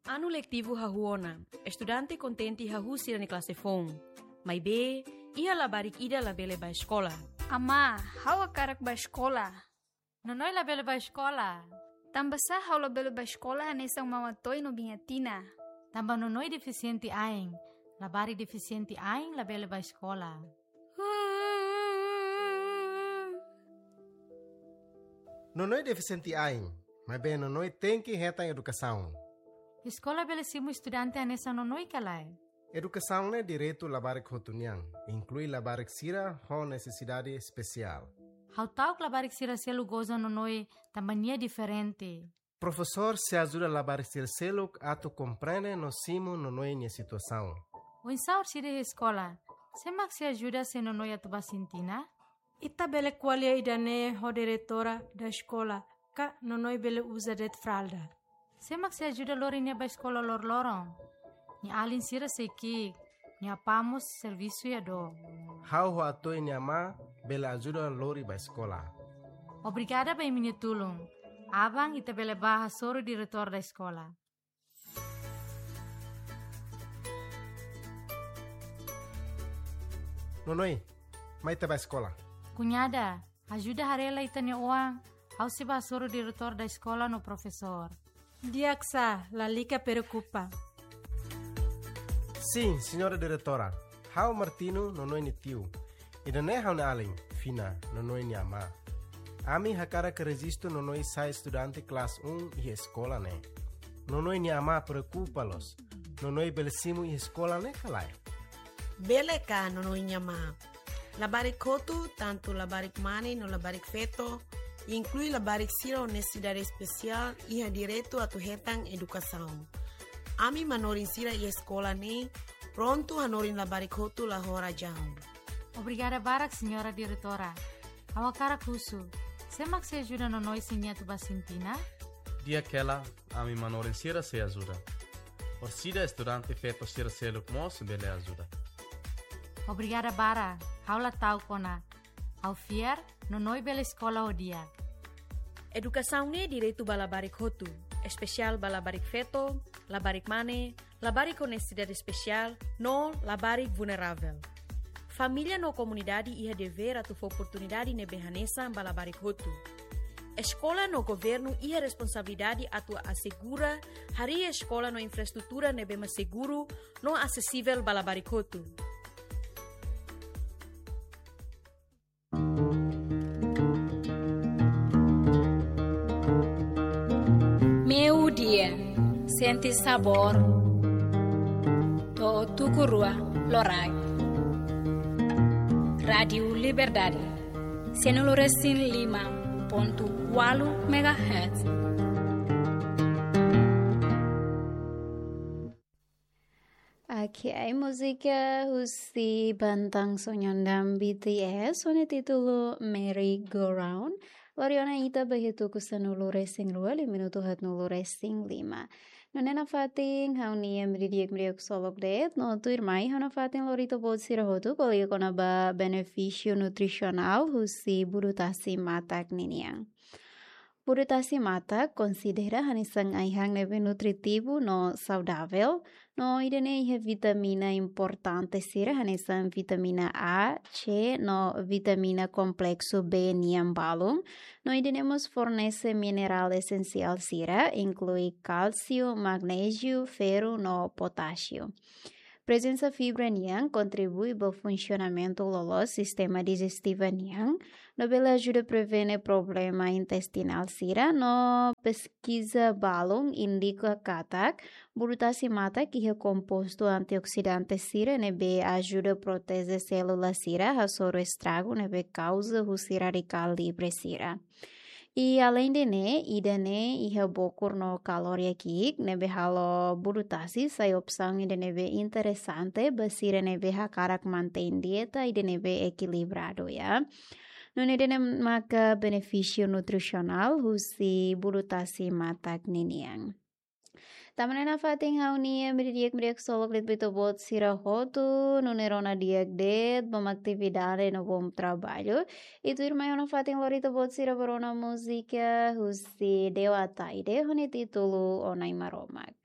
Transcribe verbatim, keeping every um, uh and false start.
Anu letivu hahú ona, estudante kontente hahú sira-nia klase foun. Maibé, iha labarik ida labele bá eskola. Amá, ha'u hakarak bá eskola. Nonoi labele bá eskola. Tanbasá ha'u labele bá eskola hanesan Mama Toy no Biña Tina? Tanba Nonoi defisiente ain. Labarik defisiente ain labele bá eskola. Nonoi defisiente ain, maibé Nonoi tenke hetan edukasaun. Eskola bele simu estudante hanesan Nonoi ka lae? Edukasaun ne'e direitu labarik hotu nian, inklui labarik sira ho nesesidade espesiál. Ha'u ta'uk labarik sira seluk goza Nonoi tanba nia diferente. Profesór sei ajuda labarik sira seluk atu komprende no simu Nonoi nia situasaun. Oinsá orsida iha eskola? Sé mak sei ajuda se Nonoi atu bá sintina? Ita bele ko'alia ida-ne'e ho diretora da eskola, ka Nonoi bele uza de'it fralda. Sé mak sei ajuda lori nia bá eskola loroloron? Nia alin sira sei ki'ik, nia apá mós servisu iha dook. Ha'u ho Atoy nia amá bele ajuda lori bá eskola. Obrigada ba imi-nia tulun. Aban ita bele bá hasoru diretór da eskola. Nonoi, mai ita bá eskola. Kuñada, ajuda haree lai ita-nia oan, ha'u sei bá hasoru diretór da eskola no profesór. Di'ak sá, lalika preokupa. Sin, señora diretora. Ha'u Martino, Nonoi nia tiu. Ida-ne'e ha'u-nia alin, Fina, Nonoi nia amá. Ami hakarak rejistu Nonoi sai estudante klase um iha eskola ne'e. Nonoi nia amá preokupa loos. Nonoi bele simu iha eskola ne'e ka lae? Bele ka, Nonoi nia amá. Labarik hotu, tantu labarik mane no labarik feto, inklui labarik sira ho nesesidade espesiál, iha direitu atu hetan edukasaun. Ami manorin sira iha eskola ne'e prontu hanorin labarik hotu la ho razaun. Obrigada barak, señora diretora. Ha'u hakarak husu, sé mak sei ajuda Nonoi se nia atu bá sintina? Di'ak hela, ami manorin sira sei ajuda. Orsida estudante feto sira seluk mós bele ajuda. Obrigada barak, ha'u la ta'uk ona. Ha'u fiar, Nonoi bele eskola ho di'ak. Edukasaun ne'e direitu ba labarik hotu, espesiál ba labarik feto, labarik mane, labarik ho nesesidade espesiál, no labarik vulneravel. Família no komunidade iha devér atu fó oportunidade ne'ebé hanesan ba labarik hotu. Eskola no governu iha responsabilidade atu asegura harii eskola no infraestrutura ne'ebé mak seguru no asesivel ba labarik hotu. Meiudia, sente sabór to'o tuku rua loraik. Rádiu Liberdade, sanulu resin lima pontu ualu megahertz. Oke, múzika husi banda Sonyeon dan B T S, ho nia títulu Merry Go Round. Lori ona ita ba iha tuku sanulu resin rua, liu minutu haatnulu resin lima. Nune'e nafatin ha'u-nia ema di'ak, ema di'ak ksolok de'it, no tuirmai ha'u nafatin lori ita-boot sira hotu ko'alia kona-ba benefísiu nutrisionál husi budu tasi matak ninian. Budu tasi matak konsidera hanesan ai-han ne'ebé nutritivu no saudavel, no ida-ne'e iha vitamina importante sira hanesan vitamina A, C no vitamina kompleksu B nian balun, no ida-ne'e mós fornese minerál esensiál sira, inklui kálsiu, magnéziu, ferru no potásiu. Prezensa fibra nian kontribui ba funsionamentu loloos sistema dijestiva nian, no bele ajuda prevene problema intestinál sira, no peskiza balun indika katak budu tasi matak iha kompostu antioksidante sira ne'ebé ajuda proteje sélula sira hasoru estragu ne'ebé kauza husi radikál livre sira. I aleinde ne'e, ida-ne'e iha bokur no kalória ki'ik, ne'ebé halo budu tasi sai opsaun ida ne'ebé interesante ba sira ne'ebé hakarak mantein dieta ida ne'ebé ekilibradu, ya. Nune'e ida-ne'e maka benefísiu nutrisionál husi budu tasi matak ninian. Tanba ne'e nafatin ha'u-nia ema di'ak, ema di'ak ksolok de'it ba ita-boot sira hotu, nune'e rona di'ak de'it, bom atividade no bom trabalho. I tuirmai ha'u nafatin lori ita-boot sira ba rona múzika husi Deo Ataide, ho nia títulu Ó Na'i Maromak.